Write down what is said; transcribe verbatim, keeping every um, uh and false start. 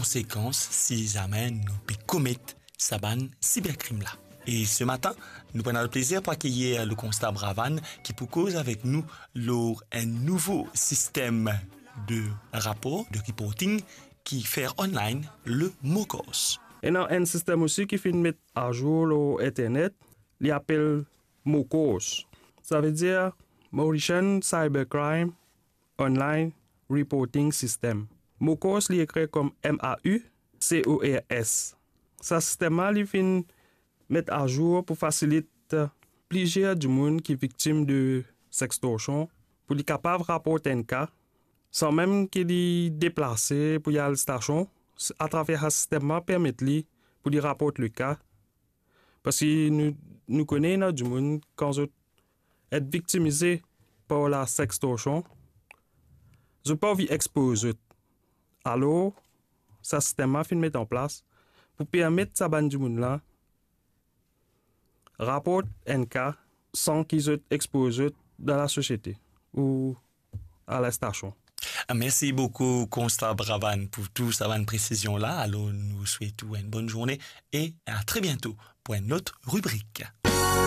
konsekans si zame nou pe komet sa bann siberkrim la. E se matin, nou pou ena leplezir pou akeyir le konstab Ravan ki pou koz avek nou lor enn nouvo sistem de rapor, de reporting ki fer online, le MOCOS. Ena enn sistem osi ki finn met azour lor internet, li apel MOCORS. Savedir Mauritian Cybercrime Online Reporting System. MOCORS li ekrir kom M A U C O R S. Sa sistem la li finn met azour pou fasilit plizier dimoun ki viktim de sextorsion pou li kapav raport enn ka san mem ki li deplase pou li al stasion. Atraver sa sistem la permet li pou li raport le ka. Parski nou, nou kone ena dimoun, kan zot et viktimize par la sextorsion, zot pa anvi expoz zot. Alor, sa sistem la finn met an plas pou permet sa bann dimoun la raport enn ka san ki zot expoz zot dan lasosiete ou a lastasion. Mersi boukou, Konstab Ravan, pou tou sa bann presizion la. Alor, nou swet ou enn bonn zourne e a tre biento pou enn lot ribrik.